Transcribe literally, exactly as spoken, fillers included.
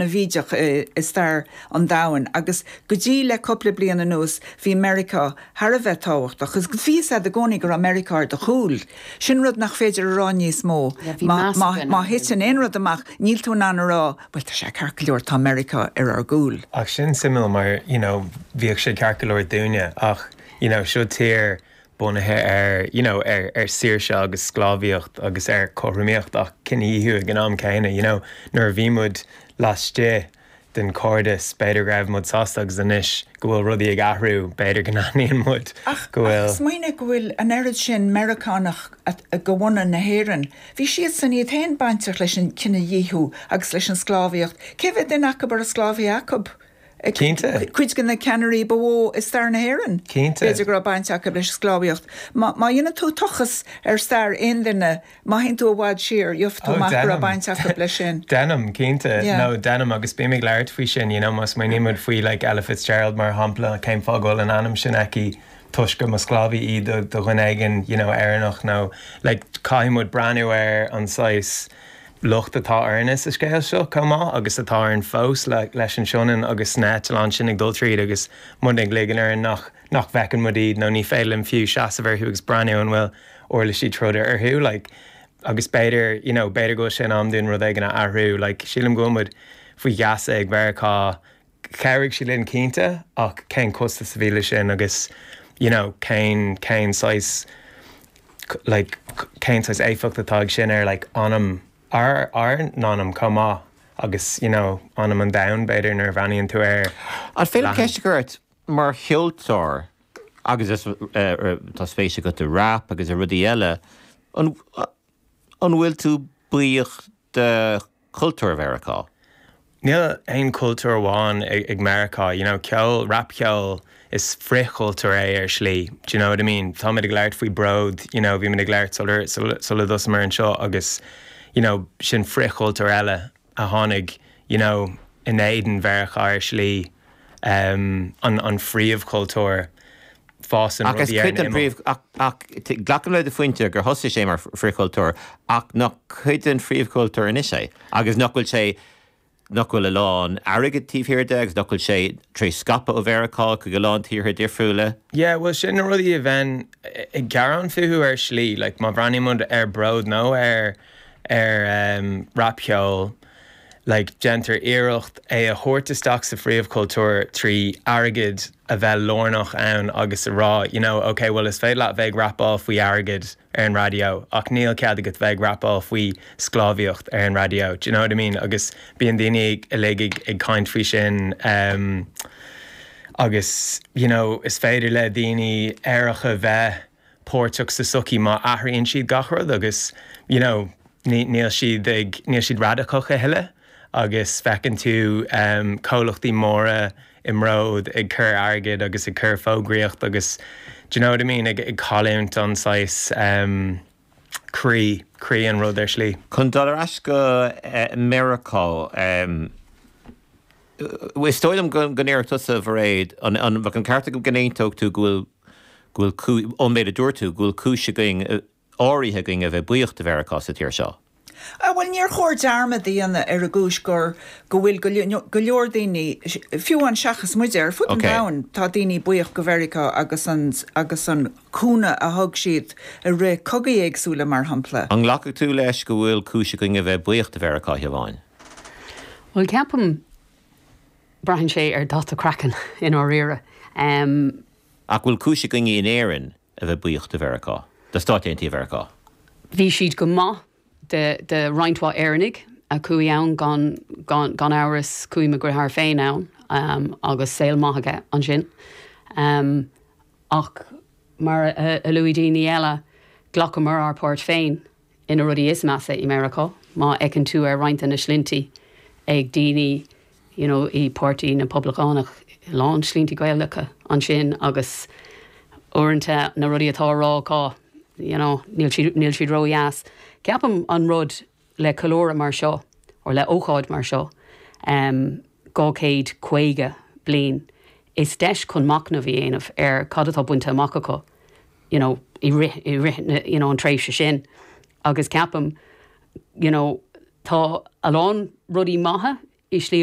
an-bhídeach i stair an domhain agus go dtí le cúpla bliain anuas bhí Meiriceá thar a bheith tábhachtach, agus bhí a fhios i gcónaí go raibh Meiriceá ar do chúl. Sin rud nach féidir a rá níos mó. Má thiteann aon rud amach níl tú in ann a rá, well tá sé ceart go leor tá Meiriceá ar ár gcúl. Ach sin suimiúil mar you know, bhíodh sé ceart go leor dúinne ach you know, seo tír bunaithe ar you know, ar, ar saoirse agus sclábhaíocht agus ar chothromaíocht ach cinedhíothú ag an am céanna, you know, nuair a bhí muid laistigh den cairdeas b'fhéidir go raibh muid sásta agus anois go bhfuil rudaí ag athrú b'fhéidir go n-aithníonn muid go bhfuil. Smaoinigh go bhfuil an oiread sin Meiriceánach de bhunadh na hÉireann. Bhí siad san iad féin bainteach leis an cinedhíothú agus leis an sclábhaíocht. Cé mhéad duine acu a raibh sclábhaí acu? Cinnte. Cuid de na ceannairí ba mhó i stair na hÉireann. Cinnte. B'fhéidir go raibh baint acu leis sclábhaíocht. Má dhéanann tú tochas ar stair aon duine, má théann tú i bhfad siar, gheobhaidh tú amach go raibh baint acu leis sin. Déanaim cinnte nó déanaim agus bím ag labhairt faoi sin, you know, má smaoinímid faoi like Ella Fitzgerald mar shampla cén fáth go bhfuil an ainm sin aici toisc go mba sclábhaí í do do dhuine éigin you know, Éireannach nó like, caithfidh muid breathnú ar an saghas locht atá orainne sa scéal seo chomh maith agus atá orainn fós le, leis an Sionainn agus na heitleáin sin ag dul tríd agus muid ag ligean ar nach nach bhfeiceann muid iad nó ní féidir linn fiú seasamh orthu agus breathnú an bhfuil uirlisí troda orthu like, agus b'fhéidir you know, b'fhéidir go sin am dúinn rud éigin a athrú like, sílim go muid faoi gheasa ag Meiriceá chabhraigh sí linn cinnte ach cén costas a bhí leis sin agus you know, cén cén saghas like, cén saghas éifeacht atá ag sin ar like, anam ár ár n-anam chomh maith agus you know, anam an domhain b'fhéidir nuair a bhreathnaíonn tú air. An féidir ceist a chur ort mar cheoltóir agus is uh, tá spéis agat i rap agus i rudaí eile an an bhfuil tú buíoch de chultúr Mheiriceá? Níl aon cultúr amháin ag, ag Meiriceá, you know, ceol rapcheol is frithchultúr é ar shlí. Do you know what I mean? Tá ag labhairt faoi bród, you know, bhí ag labhairt sula dtosaíomar anseo agus you know, sin frithchultúr eile a tháinig you know, in éadan Mheiriceá ar shlí um, an, an phríomhchultúr fásann Ach is cuid den phríomh ach glacaim le do phointe gur thosaigh sé mar frithchultúr ach nach cuid den phríomhchultúr anois é agus nach bhfuil sé nach bhfuil a lán airgead taobh thiar de agus nach bhfuil sé tré scaipeadh ó Mheiriceá go go lán tíortha difriúla. Yeah, well sin na rudaí a bheinn ag gearán fúthu ar shlí, like, má bhreathnaímid ar bród nó ar ar um, rapcheol, like, déantar iarracht é a thabhairt isteach sa phríomhchultúr trí airgead a bheith lárnach ann agus a rá, you know, okay, well is féidir leat bheith rapáil faoi airgead ar an raidió ach níl cead agat bheith rapáil faoi sclábhaíocht ar an raidió. Do you know what I mean? Agus bíonn daoine uilig ag, ag caint faoi sin um, agus you know, is féidir le daoine aeracha bheith páirteach sa sochaí má athraíonn siad gach rud agus you know, níl siad ag níl siad radacach a thuilleadh agus feiceann tú um, comhlachtaí móra i mbród ag cur airgead agus ag cur fógraíocht agus do you know what I mean ag, ag cailliúint an saghas um, croí croí an rud ar shlí. Chun dul ar ais go uh, Meiriceá um, Is dóigh liom go ndéarfadh tusa Mhairéad an an an ceart go n-aontódh tú go bhfuil go bhfuil ón méid a dúirt tú go bhfuil cúis againn áirithe againn a bheith buíoch de Mheiriceá sa tír seo. Ah, well níor chóir dearmad a dhéanamh ar an gcúis gur go bhfuil go leor daoine fiú an seachas muide ar fud an Okay. domhain tá daoine buíoch go Mheiriceá agus an agus an cúnamh a thug siad i rith cogaí éagsúla mar shampla. An nglacfaidh tú leis go bhfuil cúis againn a bheith buíoch de Mheiriceá amháin. Well ceapaim braitheann sé ar dhath craicinn i ndáiríre. Um, Ach bhfuil cúis againn in Éirinn a bheith buíoch de Mheiriceá, de Stáit Aontaithe Mheiriceá. Bhí siad go maith de, de roinnt mhaith Éireannaigh a chuaigh ann gan, gan, gan amhras chuaigh mo dheartháir féin ann um, agus saol maith aige ansin. Um, ach mar a, a luaigh daoine eile ghlacamar ár bpáirt féin ina rudaí is measa i Meiriceá, má fheiceann tú ar roinnt na sloinnte ag daoine you know, i bPáirtí na bPoblachtánach lán sloinnte Gaelacha ansin agus uaireanta na rudaí atá á rá acu you know, níl siad níl siad ródheas. Ceapaim an rud le ceiliúradh mar seo or le ócáid mar seo um, dhá chéad caoga bliain is deis chun machnamh a dhéanamh ar cad atá bainte amach acu you know, i rith i rith you know, an tréimhse sin agus ceapaim you know, tá a lán rudaí maithe i slí